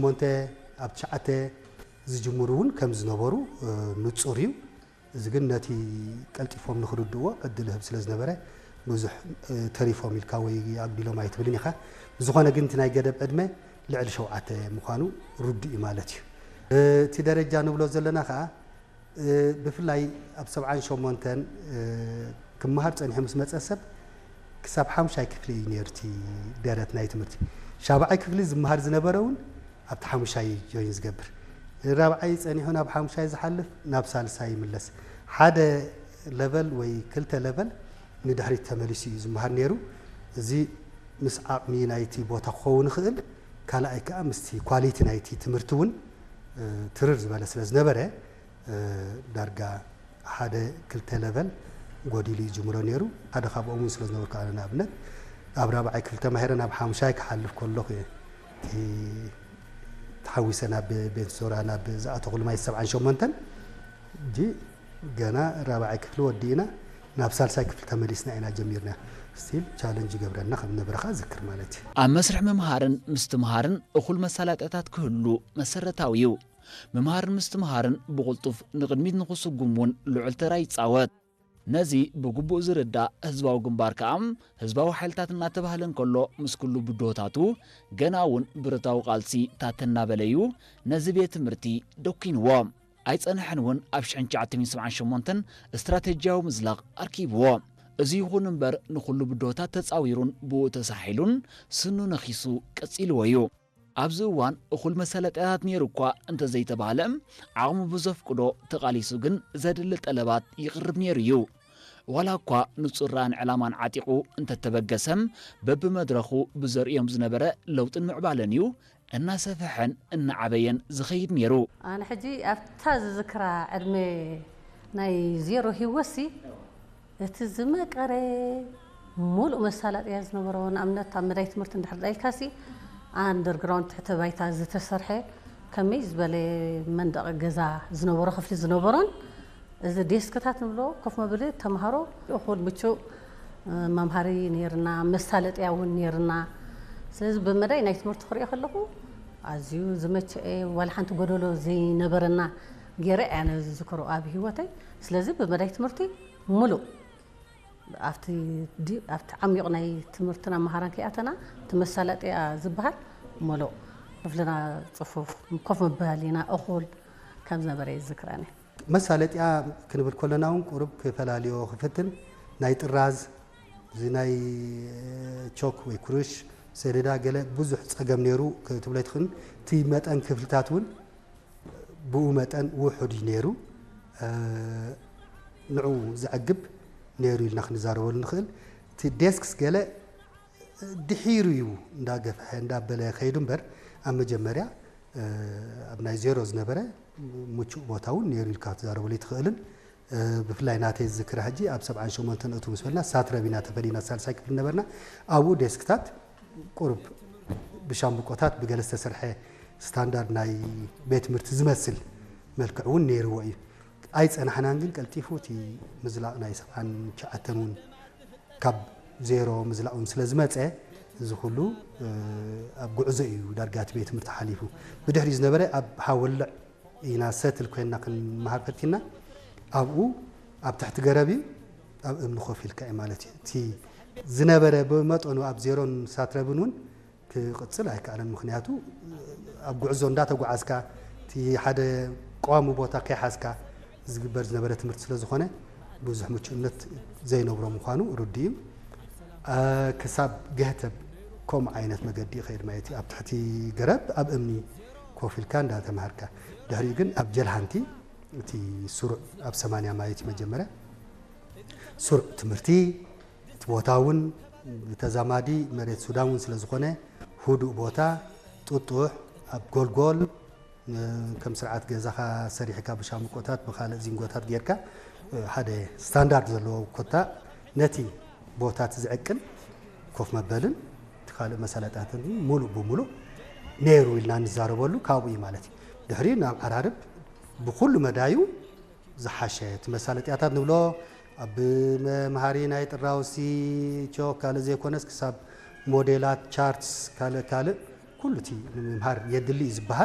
ሞንተ ኣብ ትሽዓተ ዝጅምሩ እውን ከም ዝነበሩ ንጹር እዩ። እዚ ግን ነቲ ቀልጢፎም ንኽርድእዎ ዕድል ይህብ ስለ ዝነበረ ብዙሕ ተሪፎም ኢልካ ወይ ኣጉዲሎም ኣይትብልን ኢኻ። ብዝኾነ ግን እቲ ናይ ገደብ ዕድመ ልዕሊ ሸውዓተ ምዃኑ ርዱእ እዩ ማለት እዩ። እቲ ደረጃ ንብሎ ዘለና ኸኣ ብፍላይ ኣብ ሰብዓን ሸሞንተን ክመሃር ጸኒሑ ምስ መጸ ሰብ ክሳብ ሓሙሻይ ክፍሊ እዩ ነይሩ እቲ ደረት ናይ ትምህርቲ። ሻብዓይ ክፍሊ ዝመሃር ዝነበረ እውን ኣብቲ ሓሙሻይ እዩ ጆይን ዝገብር። ራብዓይ ጸኒሑ ናብ ሓሙሻይ ዝሓልፍ ናብ ሳልሳይ ይምለስ። ሓደ ለቨል ወይ ክልተ ለቨል ንድሕሪት ተመሊሱ እዩ ዝመሃር ነይሩ። እዚ ምስ ዓቕሚ ናይቲ ቦታ ክኸውን ይኽእል፣ ካልኣይ ከኣ ምስቲ ኳሊቲ ናይቲ ትምህርቲ እውን ትርር ዝበለ ስለ ዝነበረ ዳርጋ ሓደ ክልተ ለቨል ጎዲሉ ይጅምሮ ነይሩ። ሓደ ካብኦም እውን ስለ ዝነበርኩ ኣነ ንኣብነት ኣብ ራብዓይ ክፍሊ ተማሂረ ናብ ሓሙሻይ ክሓልፍ ከለኹ እየ እቲ ተሓዊሰ ናብ ቤንሶራ ናብ ዝኣተኹሉ ማይ ሰብዓን ሸሞንተን እጂ ገና ራብዓይ ክፍሊ ወዲእና ናብ ሳልሳይ ክፍሊ ተመሊስና ኢና ጀሚርና። ስቲል ቻለንጅ ይገብረና ከም ነበረ ከኣ ዝክር ማለት እዩ። ኣብ መስርሕ ምምሃርን ምስትምሃርን እኹል መሳለጥያታት ክህሉ መሰረታዊ እዩ። ምምሃርን ምስትምሃርን ብቕልጡፍ ንቕድሚት ንኽስጉም እውን ልዑል ተራ ይጻወት። ነዚ ብግቡእ ዝርዳእ ህዝባዊ ግንባር ከኣ ህዝባዊ ሓይልታት እናተባህለ እንከሎ ምስ ኩሉ ብድሆታቱ ገና እውን ብረታዊ ቃልሲ ታተ እናበለ እዩ ነዚ ቤት ትምህርቲ ደኲንዎ። ኣይጸንሐን እውን ኣብ ሽሕን ትሽዓተ ሚእትን ሰብዓን ሸሞንተን ስትራተጂያዊ ምዝላቕ ኣርኪብዎ። እዚ ይኹን እምበር ንኹሉ ብድሆታት ተጻዊሩን ብኡ ተሳሒሉን ስኑ ነኺሱ ቀጺልዎ እዩ። ኣብዚ እዋን እኹል መሳለጥያታት ነይሩ እኳ እንተዘይተባህለ ዓቕሙ ብዘፍቅዶ ተቓሊሱ ግን ዘድሊ ጠለባት ይቕርብ ነይሩ እዩ። ዋላ እኳ ንጹር ራእን ዕላማን ዓጢቑ እንተተበገሰም በብመድረኹ ብዘርእዮም ዝነበረ ለውጥን ምዕባለን እዩ እናሰፍሐን እናዓበየን ዝኸይድ ነይሩ። ኣነ ሕጂ ኣብታ ዝዝክራ ዕድመ ናይ ዜሮ ህይወትሲ እቲ ዝመቀረ ሙሉእ መሳለጥያ ዝነበሮ ንኣብነት ኣብ መዳይ ትምህርቲ እንድሕር ዳይካሲ ኣንደርግራውንድ ትሕተ ባይታ ዝተሰርሐ ከመይ ዝበለ መንደቕ ገዛ ዝነበሮ ክፍሊ ዝነበሮን እዚ ዴስክታት ንብሎ ኮፍ መብሊ ተምሃሮ እኹል ምቹእ መምሃሪ ነይርና፣ መሳለጥያ እውን ነይርና። ስለዚ ብመዳይ ናይ ትምህርቲ ክሪኦ ከለኹ ኣዝዩ ዝመቸአ ዋላ ሓንቲ ጎደሎ ዘይነበረና ገይረ እያ ነዚ ዝዝክሮ ኣብ ህይወተይ። ስለዚ ብመዳይ ትምህርቲ ሙሉእ ኣብቲ ዲ ኣብቲ ዓሚቕ ናይ ትምህርትና መሃራን ከይኣተና እቲ መሳለጥያ ዝበሃል ሙሉእ ክፍልና ጽፉፍ ኮፍ መበሃሊና እኹል ከም ዝነበረ ይዝክረኒ። መሳለጥያ ክንብል ከለና እውን ቁሩብ ክፈላልዮ ክፍትን ናይ ጥራዝ እዚ ናይ ቾክ ወይ ኩርሽ ሰሌዳ ገለ ብዙሕ ጸገም ነይሩ ክትብሎ ኣይትኽእልን። እቲ መጠን ክፍልታት እውን ብኡ መጠን ውሑድ እዩ ነይሩ። ንዑ ዘዕግብ ነይሩ ኢልና ክንዛረበሉ ንኽእል። እቲ ዴስክስ ገለ ድሒሩ እዩ እንዳገፍሐ እንዳበለ ከይዱ እምበር ኣብ መጀመርያ ኣብ ናይ ዜሮ ዝነበረ ምቹእ ቦታ እውን ነይሩ ኢልካ ክትዛረበሉ ኣይትኽእልን። ብፍላይ ናተይ ዝዝክራ ሕጂ ኣብ ሰብዓን ሸሞንተን እቱ ምስ በልና ሳትረብ ኢና ተፈሊና ሳልሳይ ክፍሊ ነበርና። ኣብኡ ዴስክታት ቁሩብ ብሻምብቆታት ብገለ ዝተሰርሐ ስታንዳርድ ናይ ቤት ትምህርቲ ዝመስል መልክዕ እውን ነይርዎ እዩ። ኣይጸናሕናን ግን ቀልጢፉ እቲ ምዝላቕ ናይ ሰብዓን ትሽዓተን እውን ካብ ዜሮ ምዝላቕ እውን ስለ ዝመጸ እዚ ኩሉ ኣብ ጉዕዞ እዩ ዳርጋ እቲ ቤት ትምህርቲ ሓሊፉ። ብድሕሪኡ ዝነበረ ኣብ ሃወልዕ ኢና ሰትል ኮይንና ክንመሃር ፈቲና። ኣብኡ ኣብ ትሕቲ ገረብ እዩ ኣብ እምኒ ኮፍ ኢልካ እዩ ማለት እዩ። እቲ ዝነበረ ብመጠኑ ኣብ ዜሮን ሳትረብን እውን ክቕጽል ኣይከኣለን። ምኽንያቱ ኣብ ጉዕዞ እንዳተጓዓዝካ እቲ ሓደ ቀዋሚ ቦታ ከይሓዝካ ዝግበር ዝነበረ ትምህርቲ ስለ ዝኾነ ብዙሕ ምቹእነት ዘይነብሮ ምዃኑ ርዱእ እዩ። ክሳብ ገህተብ ከምኡ ዓይነት መገዲ ይኸይድ ማለት እዩ። ኣብ ትሕቲ ገረብ ኣብ እምኒ ኮፍ ኢልካ እንዳተምሃርካ ድሕሪኡ ግን ኣብ ጀልሃንቲ እቲ ስሩዕ ኣብ ሰማንያ ማለት እዩ መጀመርያ ስሩዕ ትምህርቲ እቲ ቦታ እውን ብተዛማዲ መሬት ሱዳን እውን ስለ ዝኾነ ህዱእ ቦታ ጥጡሕ ኣብ ጎልጎል ከም ስርዓት ገዛኻ ሰሪሕካ ብሻምቆታት ብኻልእ ዚንጎታት ጌርካ ሓደ ስታንዳርድ ዘለዎ ኮታ ነቲ ቦታ እቲ ዝዕቅን ኮፍ መበልን እቲ ካልእ መሳለጥያትን ሙሉእ ብሙሉእ ነይሩ ኢልና ንዛረበሉ ካብኡ እዩ ማለት እዩ። ድሕሪኡ ናብ ዓራርብ ብኩሉ መዳዩ ዝሓሸ እቲ መሳለጥያታት ንብሎ ኣብ መምሃሪ ናይ ጥራውሲ ቾክ ካልእ ዘይኮነስ ክሳብ ሞዴላት ቻርትስ ካልእ ካልእ ኩሉ እቲ ንምምሃር የድሊ እዩ ዝበሃል